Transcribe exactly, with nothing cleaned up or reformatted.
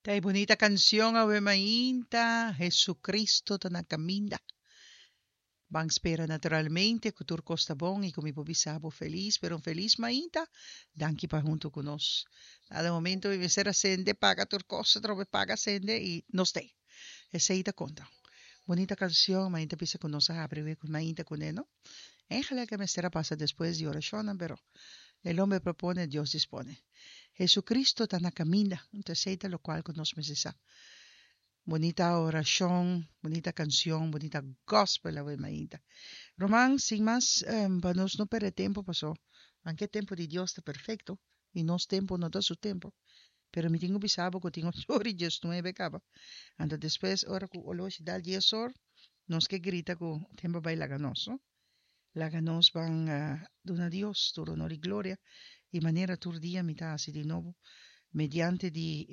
Ta e bunita kansion "Awe Mainta", Jesucristo ta na kaminda. Ban spera naturalmente ku tur kos ta bon i ku mi por bisa bo felis, pero un felis mainta. Danki pa huntu ku nos. Na momento mi mester a sende, paga tur kos, trobe paga, sende i nos t'ei. Esei ta konta. Bunita kansion, mainta bisa ku nos a habri ku mainta kuné, no? Eigenlijk mester a pasa despues di orashon, pero el hombre propone, Dios dispone. Jesucristo ta na kaminda, anto esei ta lokual ku nos mester sa. Bunita orashon, bunita kansion, bunita gospel awe mainta. Ruman, sin mas, um, pa nos no pèrdè tempu, pasó. Aunke tempu di Dios ta perfekto, i nos tempu no ta su tempu. Pero mi tin ku bisa bo ku tin ocho or i diesnuebe kaba. Anto despues, ora ku oloshi dal dies or, nos ke grita ku tempu a bai laga nos, no? Laga nos ban uh, duna Dios tur honor i gloria. I manera tur dia mi ta hasi di nobo, mediante di